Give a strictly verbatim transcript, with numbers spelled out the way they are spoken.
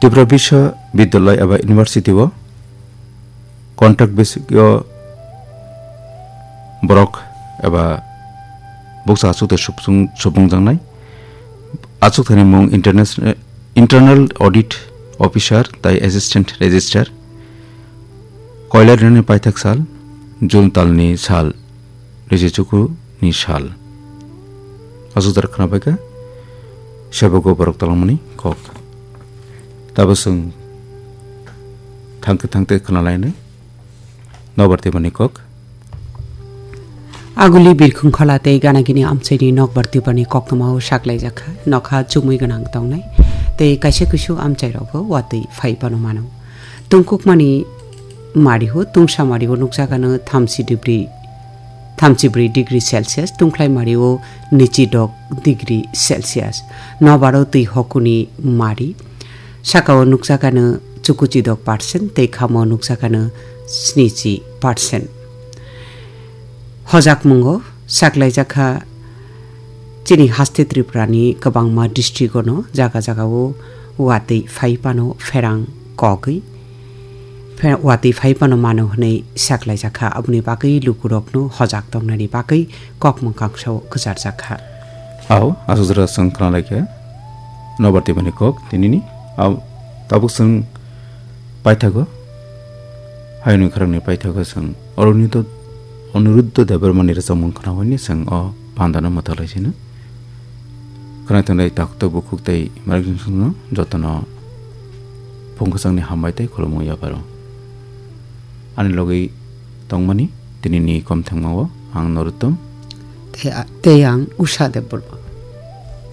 Tripura Biswa Vidyalaya eba University o contract basis o borok eba buksa achukthai supung-, supungjaknai. Achukthani mung international, Internal Audit Officer tai Assistant Registrar. Koilar ni paithak sal, June talni sal, risi chuku ni sal. Aswk jora khwnabaikha, sebogo borok talangmani kok. Tabo chwng thangkhe thangte khwnalainai, nobar tebani kok. Aguli birkhung khola tei ganagini amchaini nokbar tibani koktwmao saklaijakha, nokha chumui gwnang tongnai, tei kaisa kusu amchairogo watwi phai phano mano. Tungkukmani mario, tungsa mario nukjakano thamchi degree, thamchi bri degree Celsius, tungkhlai mario nichi dok degree Celsius. Nobaro twi hokuni mari, sakao nukjakano chukuchi dok percent tei khamo nukjakano snichi percent. Hojakmungo saklaijakha chini haste Tripurani kwbangma district-ono jaga jagao watwi phai phano pherang kogwi phe-, watwi phai phano mano hwnwi saklaijakha. Aboni bagwi lukurokno hojak tongnani bagwi kok mwkang sao kwcharjakha. Ao, aswk jora chwng khwnalaikha nobar tibani kok tinini. Ao, tabuk chwng paithago, hayungni khorangni paithago chwng Arunito-, Aniruddha Debbarmani rwchapmung khwnahorni chwng o pandano mwthak laisino. Khwnai tongnai takhuk bukhuk tei malik jotono phung kwchangni hambai tei khulumung yaparo. Ani logwi tongmani tinini komthangmao ang Noruttom. Tei a-, tei ang Usha Debbarma.